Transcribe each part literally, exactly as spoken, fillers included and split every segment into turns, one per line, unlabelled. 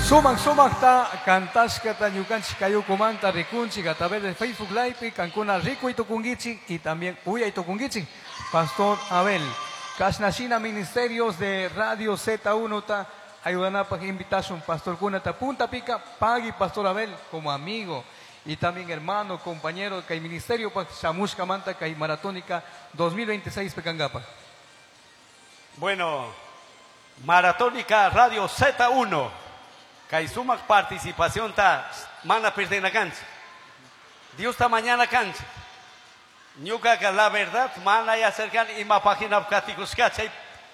Sumak sumakta kantashkata ñukanchik kayukumanta rikunchik a través de Facebook Live kankuna rikuy tukunkichik y también uyay tukunkichik. Pastor Abel, Kashnashina Ministerios de Radio Z uno ta ayudanapaj invitación Pastor kunata punta pica pagui Pastor Abel como amigo y también hermano, compañero kay ministerio pa shamushka manta kay maratónica dos mil veintiséis pekangapa.
Bueno, Maratónica Radio Z uno. Kay sumak participación ta mana perdena cancha. Dios ta mañana cancha. Ñuka ka la verdad mana ya acercan ima página katikushka chay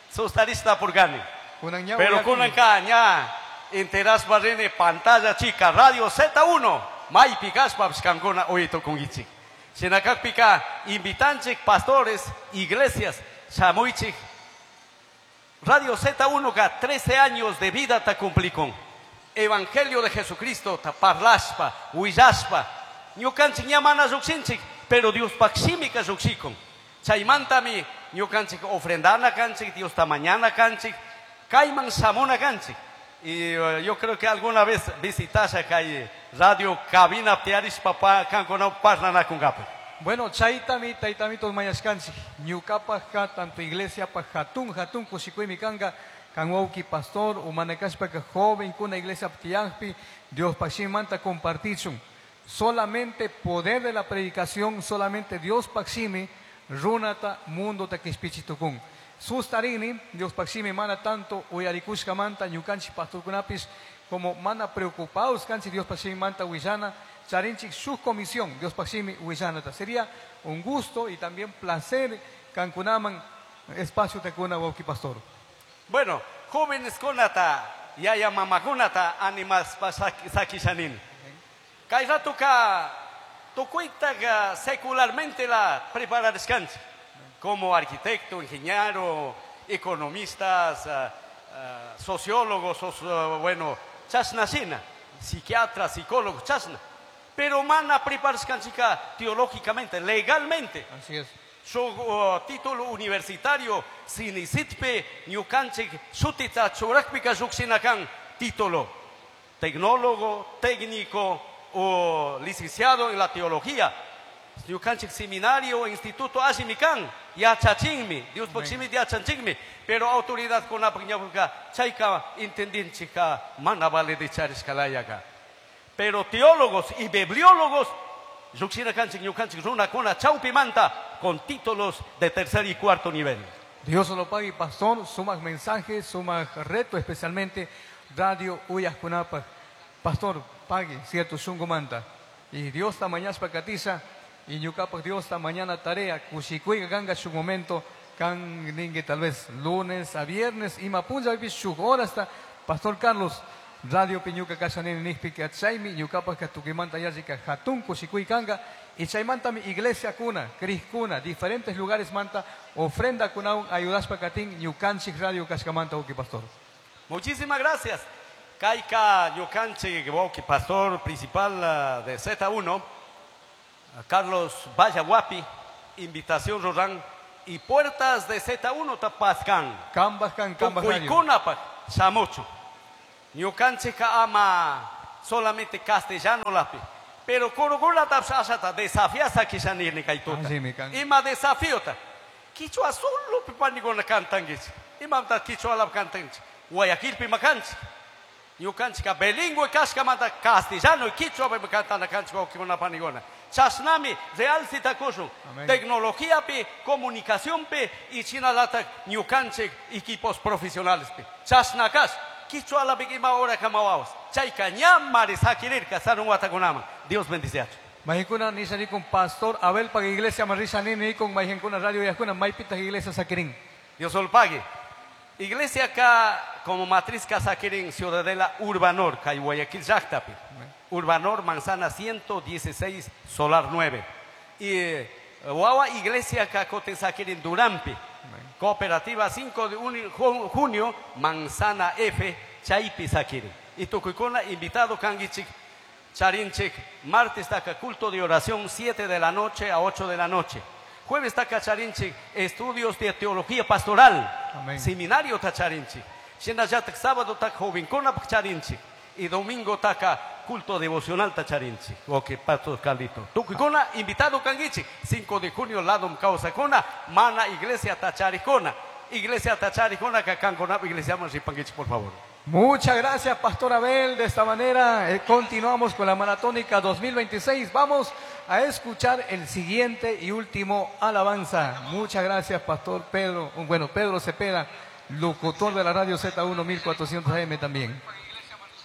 sustarista purgani.
Kunan ña
Pero
uyakuni.
kunan ka ña enteras barrene pantalla chica Radio Z uno maypi kashpa kankuna uyito kungichik. Shinakakpika invitanchik pastores, iglesias, shamuichik. Radio Z uno ka trece años de vida ta cumplicon. Evangelio de Jesucristo ta parlaspa, huillaspa. Ñukanchik ña mana llukshinchik, pero Dios pakshimika llukshikun. Chaymantami ñukanchik ofrendana kanchik, Dios ta mañana kanchik, kayman shamuna kanchik. Y, eh, yo creo que alguna vez visitas kay radio cabina tiaris papá kankuna parnanakungapi.
Bueno, chaytami taytamitos mañashkanchik. Ñukapajka tanto iglesia pa hatun hatun kushikuymi kanga. Kanwauki pastor, umanakashpaka joven kuna iglesia ptiangpi, Dios pakshimanta compartichun. Solamente poder de la predicación, solamente Dios pakshimi, runata mundo takispichitukun. Sustarini, Dios pakshimi mana tanto uyarikushka manta, ñukanchi pastor kunapis, como mana preocupados kanchi Dios pakshimi manta huillana, charinchik su comisión, Dios pakshimi huillanata. Sería un gusto y también placer kankunaman espacio tekuna wauki pastor.
Bueno, jóvenes kunata, yaya mamakunata, animas sakishanin. Kay ratuka tukuitaga secularmente la prepararishkanchik. Como arquitecto, ingeniero, economistas, ah, ah, sociólogos, sos, ah, bueno, chasnasina, psiquiatra, psicólogo, chasna. Pero mana preparashkanchika teológicamente, legalmente.
Así es.
Su, uh, título universitario, sinisitpe, ñukanchik, sutita, churakpika, yuksinakan, título. Tecnólogo, técnico o licenciado en la teología. Ñukanchik seminario, instituto, asimikan, yachachinmi, Dios pochimi, yachachinmi, pero autoridad con la piñabuca, chayka, entendinchika, mana vale de chariscalayaka. Pero teólogos y bibliólogos, yuksinakanchik, ñukanchik, runa, kuna, chaupi manta, con títulos de tercer y cuarto nivel.
Dios lo pague, pastor, sumas mensajes, sumas reto, especialmente Radio Uyaskunapa. Pastor, pague, cierto, shungo manta. Y Dios ta mañana pacatiza, y ñukapak Dios ta mañana tarea, kushikuiga ganga su momento, kan ningue tal vez lunes a viernes, y mapunja vivi su hora hasta Pastor Carlos, Radio Piñuca Casanini Nijpi Chaimi, ñukapak katukimanta yachika hatun kushikuy kanga, y chaymanta mi iglesia kuna, cris kuna, diferentes lugares manta, ofrenda kunaun, ayudaspa katin, ñukanchik Radio Kashkamanta, uki pastor.
Muchísimas gracias. Kaika ñukanchik, uki pastor principal, eh, de Z uno, Carlos Vallahuapi, invitación Rorán, y puertas de Z uno tapascan.
Kambascan, Kambas Radio.
Tukuikunapa, shamucho. Ñukanchik ama solamente castellano lapi. Pero kurukuna tapsasata desafiasa kishanirni kaituta.
Así me can.
Ima desafiota. Kichwa solo pipanigona cantanguich. Ima ta kichwa lap cantanguich. Guayaquil pimacanch. Ñukanchika bilingüe kashkamanta castellano y kichwa pe cantana canchika okimona panigona. Chasnami real citakushun.
Amén.
Tecnología pi, comunicación pi y chinalata ñukanchik equipos profesionales pi. Chasnakas. Kichwa la bigima ora kamawaos. Chayka ñamari sakirirka sarun watakunama. Dios bendice a
Mahikuna nisani con pastor Abel pa iglesia marisa nini con mahinkuna radio yaskuna maypita iglesia sakirin.
Dios lo pague. Iglesia acá como matriz Casaquirín, Ciudadela Urbanor, Cay Guayaquil, Llactapi. Urbanor, Manzana ciento dieciséis, Solar nueve. Y, eh, Guagua, Iglesia acá, Coten Saquirín, Durampi. Cooperativa cinco de uni-, ju-, junio, Manzana F, Chaypi Saquirín. Y Tucuicona, invitado Canguichic, Charinchic, martes taca culto de oración, siete de la noche a ocho de la noche. Jueves taca Charinchic, estudios de teología pastoral.
Amén.
Seminario tacharinchic. Shinallatak sábado tak jovencona charinchic. Y domingo taka culto devocional tacharinchik. Ok, Pastor Carlito. Tukuykuna invitado kankichik. cinco de junio ladom kawsakuna mana iglesia tacharikuna. Iglesia tacharikuna kankuna iglesia ripankichik, por favor.
Muchas gracias, Pastor Abel. De esta manera eh, continuamos con la Maratónica dos mil veintiséis. Vamos a escuchar el siguiente y último alabanza. Muchas gracias, Pastor Pedro. Bueno, Pedro Cepeda, locutor de la radio Z uno mil cuatrocientos A M también.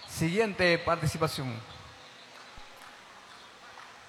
Siguiente participación.